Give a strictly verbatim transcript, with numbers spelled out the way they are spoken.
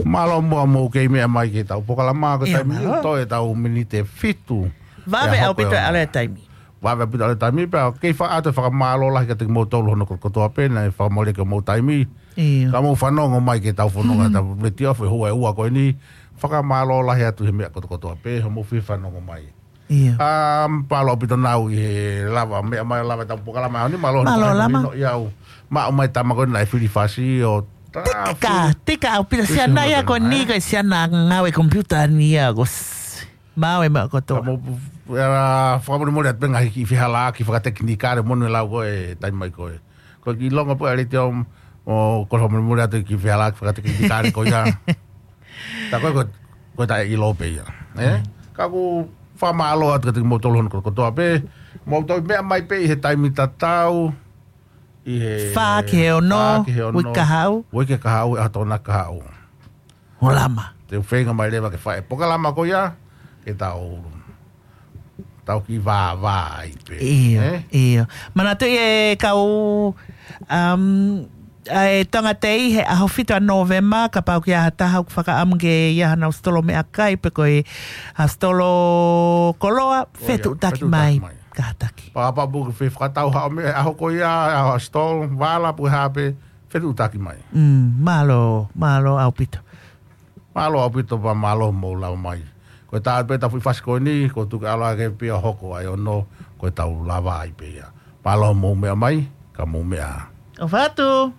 Mālō muʻa hoʻomou kei meʻa mai ki heʻetau polokalama, ko e taimi ni toe ʻetau miniti ʻe fitu. Vave ʻaupito e ʻalu e taimi. Vave ʻaupito e ʻalu e taimi, pea kei fakaʻatu e fakamālō lahi kiate kimoutolu hono kotokotoa pē naʻe fakamolemole ki hoʻomou taimi. Ka mou fanongo mai ki heʻetau fononga ʻa e letiō he houa ʻe ua ko eni. Fakamālō lahi atu he meʻa kotokotoa pē hoʻomou fie fanongo mai. ʻA, mālō ʻaupito Nau ʻi he lava meʻa mai, lava ʻetau polokalama he ʻaho ni. Mālō Lama. Mālō Lama. Maʻu mai tama ko ē naʻe fili fasi ʻo tika, tika ʻaupito. Siana ia ko eni, ko e siana ngāue komipiuta ni ia ko s-, maʻu e meʻa kotoa. Ka mou, ʻa, fakamolemole atu pē ngaahi kiʻi fehālaaki fakatekinikale, moʻoni e lau ko e taimi mai ko ē. Ko e kiʻi longo pē ʻa e letiō, ʻo ko e fakamolemole atu kiʻi fehālaaki fakatekinikale ko ia. Tā ko ē ko, ko e taʻeʻilo pē ia. Ka ʻoku fakamālō atu kiate kimoutolu hono kotokotoa pē. Mou toe meʻa mai pē ʻi he taimi tatau. ʻI he fā ki he ono, fā ki he ono, uike kahaʻu. Uike kahaʻu, ʻaho Tokonaki kahaʻu. ʻO Lama. Te u feinga mai leva ke fai e polokalama ko ia, ke tau, tau kiʻi vāvā ai pē. ʻIo, ʻio. Manatuʻi e kau, um, ʻa e Tonga Tei he ʻaho fitu ʻa Nōvema, kapau ʻoku ʻi ai ha taha ʻoku fakaʻamu ke ʻi ai haʻanau sitolo meʻakai pe ko e ha sitolo koloa, fetuʻutaki mai. Kātaki. Pea kapau ʻoku ke fie fakatau haʻo meʻa he ʻaho ko ia, ʻa e sitolo, vala pe ko e hā pē, fetuʻutaki mai. Mm, mālō, mālō ʻaupito. Mālō ʻaupito pea mālō hoʻomou lava mai. Ko e tā pē ʻetau foʻi fasi ko eni, ko e tuku ʻalu ake pē ʻo hoko ai ʻo nō, ko ʻetau lava ai pē ia. Mālō hoʻomou meʻa mai, ka mou meʻa ā. ʻOfa atu.